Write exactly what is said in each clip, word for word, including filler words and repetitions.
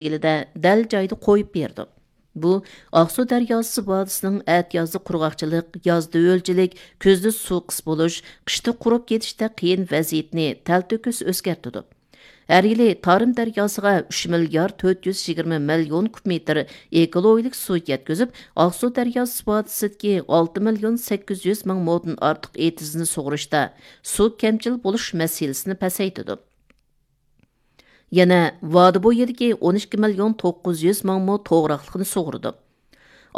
مەزگىلىدە دەل جايىدا قويۇپ بېرىدۇ. بۇ ئاقسۇ دەرياسى ۋادىسىنىڭ ئەتىيازدا قۇرغاقچىلىق، يازدا ھۆلچىلىك، كۈزدە سۇ قىس بولۇش، قىشتا قۇرۇپ كېتىشتەك قىيىن ۋەزىيىتىنى تەلتۆكۈس ئۆزگەرتىدۇ. ھەر يىلى تارىم دەرياسىغا ئۈچ مىليارد تۆت يۈز يىگىرمە مىليون كۇب مېتىر ئېكولوگىيىلىك سۇ يەتكۈزۈپ، ئاقسۇ دەرياسى ۋادىسىدىكى ئالتە مىليون سەككىز يۈز مىڭ مودىن ئارتۇق ئېتىزنى سۇغۇرۇشتا سۇ كەمچىل بولۇش مەسىلىسىنى پەسەيتىدۇ. يەنە ۋادى بويىدىكى ئون ئىككى مىليون توققۇز يۈز مىڭ مو توغراقلىقنى سۇغۇرىدۇ.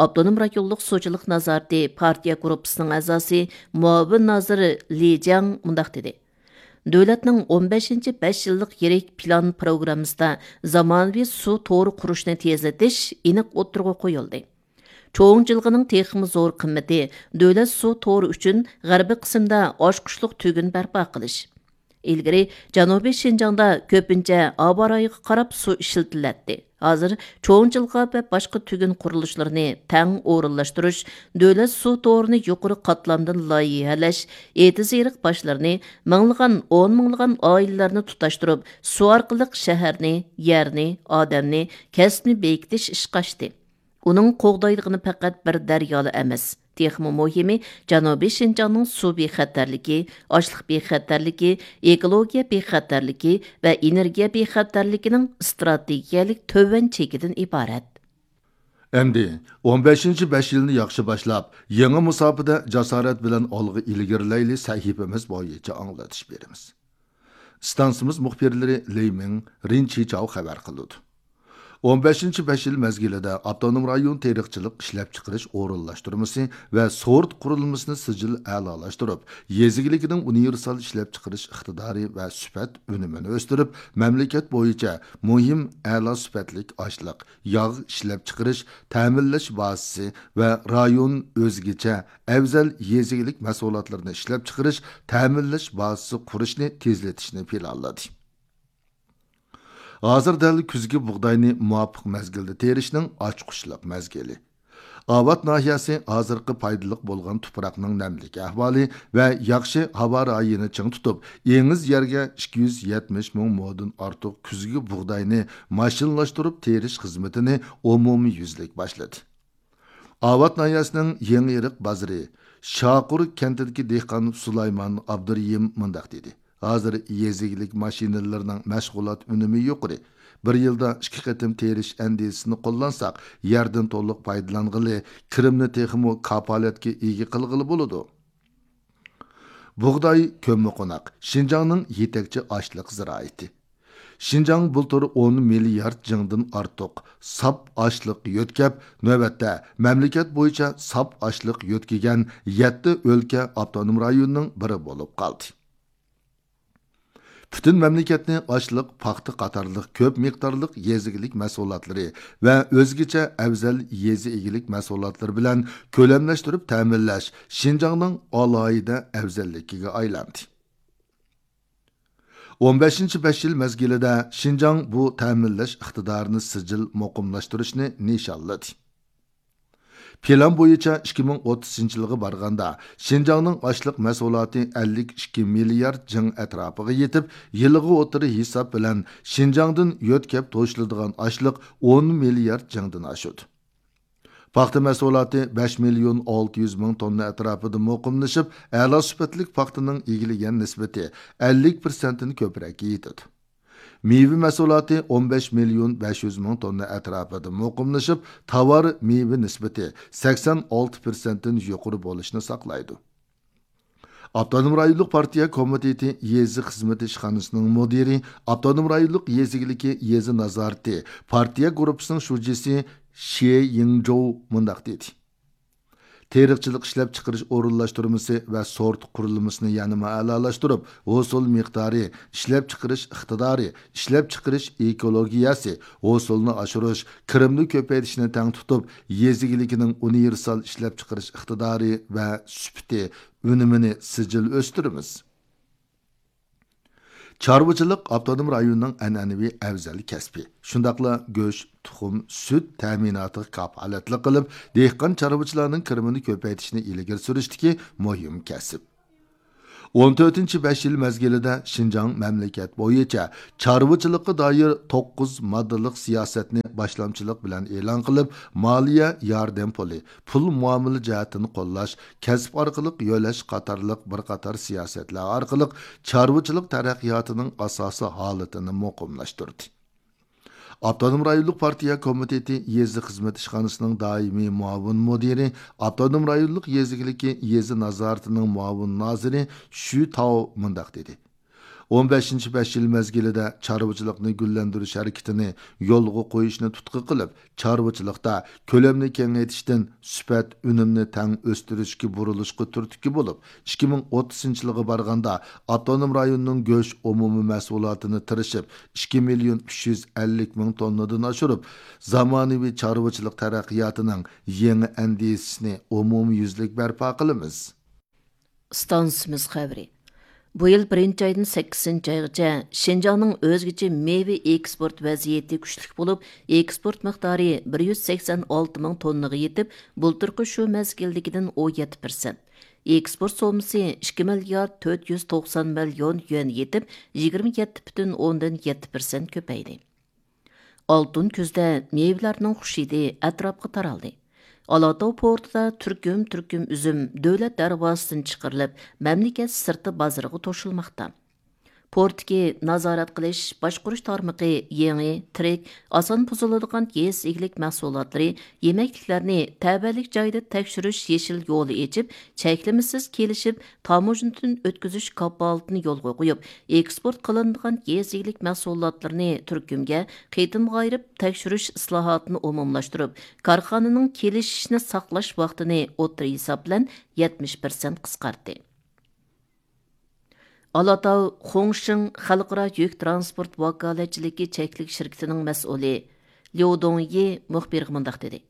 ئاپتونوم رايونلۇق سۇچىلىق نازارىتى پارتىيە گۇرۇپپىسىنىڭ ئەزاسى، مۇئاۋىن نازىر لى جياڭ مۇنداق دېدى: دۆلەتنىڭ ئون بەشىنچى بەش يىللىق يىرىك پىلان پروگراممىسىدا زامانىۋى سۇ تورى قۇرۇشنى تېزلىتىش ئېنىق ئوتتۇرىغا قويۇلدى. چوڭ جىلغىنىڭ تېخىمۇ زور قىممىتى دۆلەت سۇ تورى ئۈچۈن غەربىي قىسىمدا ئاچقۇچلۇق تۈگۈن بەرپا قىلىش. ئىلگىرى جەنۇبىي شىنجاڭدا كۆپىنچە ھاۋا رايىغا قاراپ سۇ ئىشلىتىلەتتى. ھازىر چوڭ جىلغا ۋە باشقا تۈگۈن قۇرۇلۇشلىرىنى تەڭ ئورۇنلاشتۇرۇش، دۆلەت سۇ تورىنى يۇقىرى قاتلامدىن لايىھەلەش، ئېتىز-ئېرىق باشلىرىنى مىڭلىغان، ئون مىڭلىغان ئائىلىلەرنى تۇتاشتۇرۇپ، سۇ ئارقىلىق شەھەرنى، يەرنى، ئادەمنى، كەسىپنى بېكىتىش ئىشقا ئاشتى. ئۇنىڭ قوغدايدىغىنى پەقەت بىر دەريالا ئەمەس، تېخىمۇ مۇھىمى، جەنۇبىي شىنجاڭنىڭ سۇ بىخەتەرلىكى، ئاشلىق بىخەتەرلىكى، ئېكولوگىيە بىخەتەرلىكى ۋە ئېنېرگىيە بىخەتەرلىكىنىڭ ئىستراتېگىيەلىك تۆۋەن چېكىدىن ئىبارەت. ئەمدى ئون بەشىنچى بەش يىلنى ياخشى باشلاپ، يېڭى مۇساپىدە جاسارەت بىلەن ئالغا ئىلگىرىلەيلى سەھىپىمىز بويىچە ئاڭلىتىش بېرىمىز. ئىستانسىمىز مۇخبىرلىرى لېي مىڭ، رىن چىچاۋ خەۋەر قىلىدۇ. ئون بەشىنچى بەش يىل مەزگىلىدە ئاپتونوم رايون تېرىقچىلىق ئىشلەپچىقىرىش ئورۇنلاشتۇرمىسى ۋە سورت قۇرۇلمىسىنى سىجىل ئەلالاشتۇرۇپ، يېزا ئىگىلىكىنىڭ ئۇنىۋېرسال ئىشلەپچىقىرىش ئىقتىدارى ۋە سۈپەت ئۈنۈمىنى ئۆستۈرۈپ، مەملىكەت بويىچە مۇھىم ئەلا سۈپەتلىك ئاشلىق، ياغ ئىشلەپچىقىرىش، تەمىنلەش بازىسى ۋە رايون ئۆزگىچە ئەۋزەل يېزا ئىگىلىك مەھسۇلاتلىرىنى ئىشلەپچىقىرىش، تەمىنلەش بازىسى قۇرۇشنى تېزلىتىشنى پىلانلىدى. ھازىر دەل كۈزگى بۇغداينى مۇۋاپىق مەزگىلدە تېرىشنىڭ ئاچقۇچلۇق مەزگىلى. ئاۋات ناھىيەسى ھازىرقى پايدىلىق بولغان تۇپراقنىڭ نەملىك ئەھۋالى ۋە ياخشى ھاۋا رايىنى چىڭ تۇتۇپ، ئېڭىز يەرگە ئىككى يۈز يەتمىش مىڭ مودىن ئارتۇق كۈزگى بۇغداينى ماشىنىلاشتۇرۇپ تېرىش خىزمىتىنى ئومۇميۈزلۈك باشلىدى. ئاۋات ناھىيەسىنىڭ يېڭىئېرىق بازىرى شاقۇر كەنتىدىكى دېھقان سۇلايمان ئابدۇرېھىم مۇنداق دېدى: ھازىر يېزا ئىگىلىك ماشىنىلىرىنىڭ مەشغۇلات ئۈنۈمى يۇقىرى. بىر يىلدا ئىككى قېتىم تېرىش ئەندىزىسىنى قوللانساق، يەردىن تولۇق پايدىلانغىلى، كىرىمنى تېخىمۇ كاپالەتكە ئىگە قىلغىلى بولىدۇ. بۇغداي كۆممىقوناق، شىنجاڭنىڭ يېتەكچى ئاشلىق زىرائىتى. شىنجاڭ بۇلتۇر ئون مىليارد جىڭدىن ئارتۇق ساپ ئاشلىق يۆتكەپ، نۆۋەتتە مەملىكەت بويىچە ساپ ئاشلىق يۆتكىگەن يەتتە ئۆلكە ئاپتونوم رايوننىڭ بىرى بولۇپ قالدى. پۈتۈن مەملىكەتنى ئاشلىق، پاختا قاتارلىق كۆپ مىقدارلىق يېزا ئىگىلىك مەھسۇلاتلىرى ۋە ئۆزگىچە ئەۋزەل يېزا ئىگىلىك مەھسۇلاتلىرى بىلەن كۆلەملەشتۈرۈپ تەمىنلەش شىنجاڭنىڭ ئالاھىدە ئەۋزەللىكىگە ئايلاندى. ئون بەشىنچى بەش يىل مەزگىلىدە شىنجاڭ بۇ تەمىنلەش ئىقتىدارىنى سىجىل مۇقىملاشتۇرۇشنى نىشانلىدى. پىلان بويىچە ئىككى مىڭ ئوتتۇزىنچى يىلغا بارغاندا، شىنجاڭنىڭ ئاشلىق مەھسۇلاتى ئەللىك ئىككى مىليارد جىڭ ئەتراپىغا يېتىپ، يىلىغا ئوتتۇرا ھېساب بىلەن شىنجاڭدىن يۆتكەپ توشۇلىدىغان ئاشلىق ئون مىليارد جىڭدىن ئاشىدۇ. پاختا مەھسۇلاتى بەش مىليون ئالتە يۈز مىڭ توننا ئەتراپىدا مۇقىملىشىپ، ئەلا سۈپەتلىك پاختىنىڭ ئىگىلىگەن نىسبىتى ئەللىك پىرسەنتتىن كۆپرەككە يېتىدۇ. مېۋە مەھسۇلاتى ئون بەش مىليون بەش يۈز مىڭ توننا ئەتراپىدا مۇقىملىشىپ، تاۋار مېۋە نىسبىتى سەكسەن ئالتە پىرسەنتتىن يۇقىرى بولۇشنى ساقلايدۇ. ئاپتونوم رايونلۇق پارتىيە كومىتېتى يېزا خىزمىتى ئىشخانىسىنىڭ مۇدىرى، ئاپتونوم رايونلۇق يېزا ئىگىلىكى يېزا نازارىتى پارتىيە گۇرۇپپىسىنىڭ شۇجىسى شې يىڭجوۋ مۇنداق دېدى: تېرىقچىلىق ئىشلەپچىقىرىش ئورۇنلاشتۇرمىسى ۋە سورت قۇرۇلمىسىنى يەنىمۇ ئەلالاشتۇرۇپ، ھوسۇل مىقدارى، ئىشلەپچىقىرىش ئىقتىدارى، ئىشلەپچىقىرىش ئېكولوگىيەسى، ھوسۇلنى ئاشۇرۇش، كىرىمنى كۆپەيتىشنى تەڭ تۇتۇپ، يېزا ئىگىلىكىنىڭ ئۇنىۋېرسال ئىشلەپچىقىرىش ئىقتىدارى ۋە سۈپىتى، ئۈنۈمىنى سىجىل ئۆستۈرىمىز. چارۋىچىلىق ئاپتونوم رايوننىڭ ئەنئەنىۋى ئەۋزەل كەسپى. شۇنداقلا گۆش، تۇخۇم، سۈت تەمىناتىغا كاپالەتلىك قىلىپ، دېھقان چارۋىچىلارنىڭ كىرىمىنى كۆپەيتىشنى ئىلگىرى سۈرۈشتىكى مۇھىم كەسىپ. ئون تۆتىنچى بەش يىل مەزگىلىدە شىنجاڭ مەملىكەت بويىچە چارۋىچىلىققا دائىر توققۇز ماددىلىق سىياسەتنى باشلامچىلىق بىلەن ئېلان قىلىپ، مالىيە ياردەم پۇلى، پۇل مۇئامىلە جەھەتتىن قوللاش، كەسىپ ئارقىلىق يۆلەش قاتارلىق بىر قاتار سىياسەتلەر ئارقىلىق چارۋىچىلىق تەرەققىياتىنىڭ ئاساسىي ھالىتىنى مۇقىملاشتۇردى. ئاپتونوم رايونلۇق پارتىيە كومىتېتى يېزا خىزمەت ئىشخانىسىنىڭ دائىمىي مۇئاۋىن مۇدىرى، ئاپتونوم رايونلۇق يېزا ئىگىلىكى يېزا نازارىتىنىڭ مۇئاۋىن نازىرى شۈ تاۋ مۇنداق دېدى: «ئون بەشىنچى بەش يىل مەزگىلىدە چارۋىچىلىقنى گۈللەندۈرۈش ھەرىكىتىنى يولغا قويۇشنى تۇتقا قىلىپ، چارۋىچىلىقتا كۆلەمنى كېڭەيتىشتىن سۈپەت ئۈنۈمنى تەڭ ئۆستۈرۈشكە بۇرۇلۇشقا تۈرتكە بولۇپ، ئىككى مىڭ ئوتتۇزىنچى يىلغا بارغاندا ئاپتونوم رايوننىڭ گۆش ئومۇمىي مەھسۇلاتىنى تىرىشىپ، ئىككى مىليون ئۈچ يۈز ئەللىك مىڭ توننىدىن ئاشۇرۇپ، زامانىۋى چارۋىچىلىق تەرەققىياتىنىڭ يېڭى ئەندىزىسىنى ئومۇميۈزلۈك بەرپا قىلىمىز.» ئىستانسىمىز خەۋىرى. بۇ يىل بىرىنچى ئايدىن سەككىزىنچى ئايغىچە شىنجاڭنىڭ ئۆزگىچە مېۋە ئېكسپورت ۋەزىيىتى كۈچلۈك بولۇپ، ئېكسپورت مىقدارى بىر يۈز سەكسەن ئالتە مىڭ توننىغا يېتىپ، بۇلتۇرقى شۇ مەزگىلدىكىدىن ئون يەتتە پىرسەنت. ئېكسپورت سوممىسى ئىككى مىليارد تۆت يۈز توقسان مىليون يۈەن يېتىپ، يىگىرمە يەتتە پۈتۈن ئوندىن يەتتە پىرسەنت كۆپەيدى. ئالتۇن كۈزدە مېۋىلەرنىڭ خۇش ھىدى ئەتراپقا تارالدى. ئالاتاۋ پورتىدا تۈركۈم-تۈركۈم ئۈزۈم دۆلەت دەرۋازىسىدىن چىقىرىلىپ، مەملىكەت سىرتى بازىرىغا توشۇلماقتا. پورتتىكى نازارەت قىلىش، باشقۇرۇش تارمىقى يېڭى، تىرىك، ئاسان بۇزۇلىدىغان يېزا ئىگىلىك مەھسۇلاتلىرى، يېمەكلىكلەرنى تەۋەلىك جايدا تەكشۈرۈش يېشىل يولى ئېچىپ، چەكلىمىسىز كېلىشىپ، تاموژنىدىن ئۆتكۈزۈش كاپالىتىنى يولغا قويۇپ، ئېكسپورت قىلىنىدىغان يېزا ئىگىلىك مەھسۇلاتلىرىنى تۈركۈمگە قېتىمغا ئايرىپ تەكشۈرۈش ئىسلاھاتىنى ئومۇملاشتۇرۇپ، كارخانىنىڭ كېلىشىشنى ساقلاش ۋاقتىنى ئوتتۇرا ھېساب بىلەن يەتمىش پىرسەنت قىسقارتتى. ئالاتاۋ خۇڭشىڭ خەلقئارا يۈك ترانسپورت ۋاكالەتچىلىكى چەكلىك شىركىتىنىڭ مەسئۇلى ليۇ دۇڭيى مۇخبىرغا مۇنداق دېدى: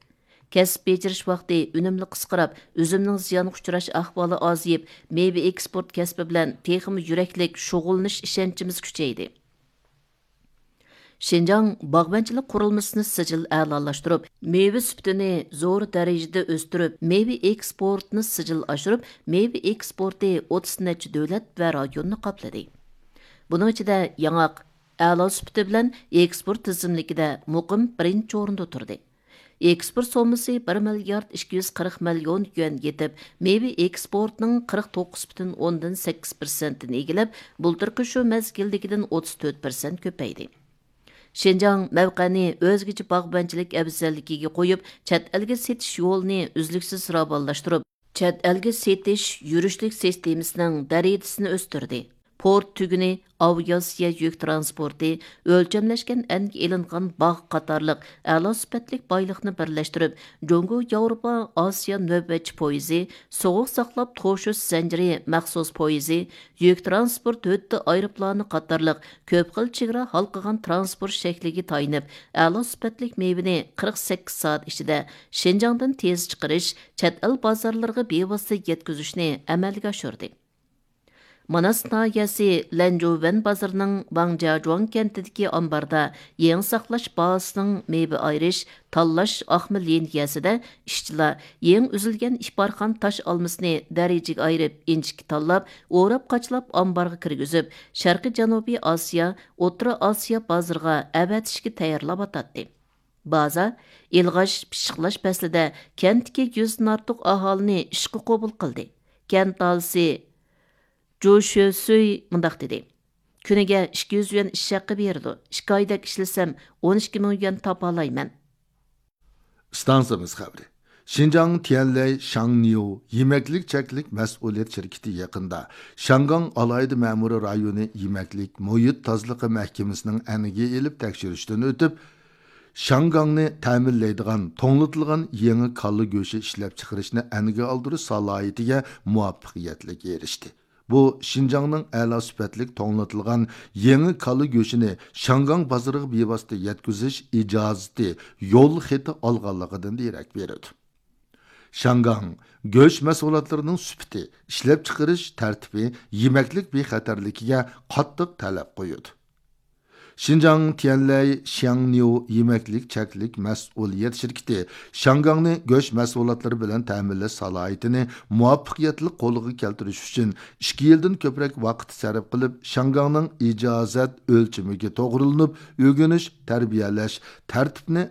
كەسىپ بېجىرىش ۋاقتى ئۈنۈملۈك قىسقىراپ، ئۈزۈمنىڭ زىيانغا ئۇچراش ئەھۋالى ئازىيىپ، مېۋە ئېكسپورت كەسپى بىلەن تېخىمۇ يۈرەكلىك شۇغۇللىنىش ئىشەنچىمىز كۈچەيدى. شىنجاڭ باغۋەنچىلىك قۇرۇلمىسىنى سىجىل ئەلالاشتۇرۇپ، مېۋە سۈپىتىنى زور دەرىجىدە ئۆستۈرۈپ، مېۋە ئېكسپورتىنى سىجىل ئاشۇرۇپ، مېۋە ئېكسپورتى ئوتتۇز نەچچە دۆلەت ۋە رايوننى قاپلىدى. بۇنىڭ ئىچىدە ياڭاق ئەلا سۈپىتى بىلەن ئېكسپورت تىزىملىكىدە مۇقىم بىرىنچى ئورۇندا تۇردى. ئېكسپورت سوممىسى بىر مىليارد ئىككى يۈز قىرىق مىليون يۈەن يېتىپ، مېۋە ئېكسپورتىنىڭ قىرىق توققۇز پۈتۈن ئوندىن سەككىز پىرسەنتىنى ئىگىلەپ، بۇلتۇرقى شۇ مەزگىلدىكىدىن ئوتتۇز تۆت پىرسەنت كۆپەيدى. شىنجاڭ مەۋقەنى ئۆزگىچە باغۋەنچىلىك ئەۋزەللىكىگە قويۇپ، چەت ئەلگە سېتىش يولىنى ئۈزلۈكسىز راۋانلاشتۇرۇپ، چەت ئەلگە سېتىش يۈرۈشلۈك سىستېمىسىنىڭ دەرىجىسىنى ئۆستۈردى. پورت تۈگۈنى، ئاۋىئاتسىيە يۈك ترانسپورتى، ئۆلچەملەشكەن ئەنگە ئېلىنغان باغ قاتارلىق ئەلا سۈپەتلىك بايلىقنى بىرلەشتۈرۈپ، جۇڭگو ياۋروپا ئاسىيا نۆۋەتچى پويىزى، سوغۇق ساقلاپ توشۇش زەنجىرى مەخسۇس پويىزى، يۈك ترانسپورت ھۆددە ئايروپىلانى قاتارلىق كۆپ خىل چېگرا ھالقىغان ترانسپورت شەكلىگە تايىنىپ، ئەلا سۈپەتلىك مېۋىنى قىرىق سەككىز سائەت ئىچىدە شىنجاڭدىن تېز چىقىرىش، چەت ئەل بازارلىرىغا بىۋاسىتە يەتكۈزۈشنى ئەمەلگە ئاشۇردى. ماناس ناھىيەسى لەنجۇۋەن بازىرىنىڭ ۋاڭجياجۇاڭ كەنتىدىكى ئامباردا يېڭى ساقلاش بازىسىنىڭ مېۋە ئايرىش، تاللاش ئاقما لىنىيەسىدە ئىشچىلار يېڭى ئۈزۈلگەن ئىپارخان تاش ئالمىسىنى دەرىجىگە ئايرىپ، ئىنچىكە تاللاپ، ئوراپ-قاچىلاپ ئامبارغا كىرگۈزۈپ، شەرقىي جەنۇبىي ئاسىيا، ئوتتۇرا ئاسىيا بازىرىغا ئەۋەتىشكە تەييارلاۋاتاتتى. بازا ئىلغاش، پىششىقلاش پەسلىدە كەنتتىكى يۈزدىن ئارتۇق ئاھالىنى ئىشقا قوبۇل قىلدى. كەنت ئاھالىسى جۇ شۆسۈي مۇنداق دېدى: «كۈنىگە ئىككى يۈز يۈەن ئىش ھەققى بېرىدۇ. ئىككى ئايدەك ئىشلىسەم، ئون ئىككى مىڭ يۈەن تاپالايمەن.» ئىستانسىمىز خەۋىرى. شىنجاڭ تيەنلەي شاڭنيۇ يېمەكلىك چەكلىك مەسئۇلىيەت شىركىتى يېقىندا شياڭگاڭ ئالاھىدە مەمۇرىي رايونى يېمەكلىك مۇھىت تازىلىقى مەھكىمىسىنىڭ ئەنگە ئېلىپ تەكشۈرۈشتىن ئۆتۈپ، شياڭگاڭنى تەمىنلەيدىغان توڭلىتىلغان يېڭى كاللا گۆشى ئىشلەپچىقىرىشنى ئەنگە ئالدۇرۇش سالاھىيىتىگە مۇۋەپپەقىيەتلىك ئېرىشتى. بۇ شىنجاڭنىڭ ئەلا سۈپەتلىك توڭلىتىلغان يېڭى كاللا گۆشىنى شياڭگاڭ بازىرىغا بىۋاسىتە يەتكۈزۈش ئىجازىتى يول خېتى ئالغانلىقىدىن دېرەك بېرىدۇ. شياڭگاڭ گۆش مەھسۇلاتلىرىنىڭ سۈپىتى، ئىشلەپچىقىرىش تەرتىپى يېمەكلىك بىخەتەرلىكىگە قاتتىق تەلەپ قويىدۇ. شىنجاڭ تيەنلەي شياڭنيۇ يېمەكلىك چەكلىك مەسئۇلىيەت شىركىتى شياڭگاڭنى گۆش مەھسۇلاتلىرى بىلەن تەمىنلەش سالاھىيىتىنى مۇۋەپپەقىيەتلىك قولغا كەلتۈرۈش ئۈچۈن ئىككى يىلدىن كۆپرەك ۋاقىت سەرپ قىلىپ، شياڭگاڭنىڭ ئىجازەت ئۆلچىمىگە توغرىلىنىپ ئۆگىنىش، تەربىيەلەش تەرتىپىنى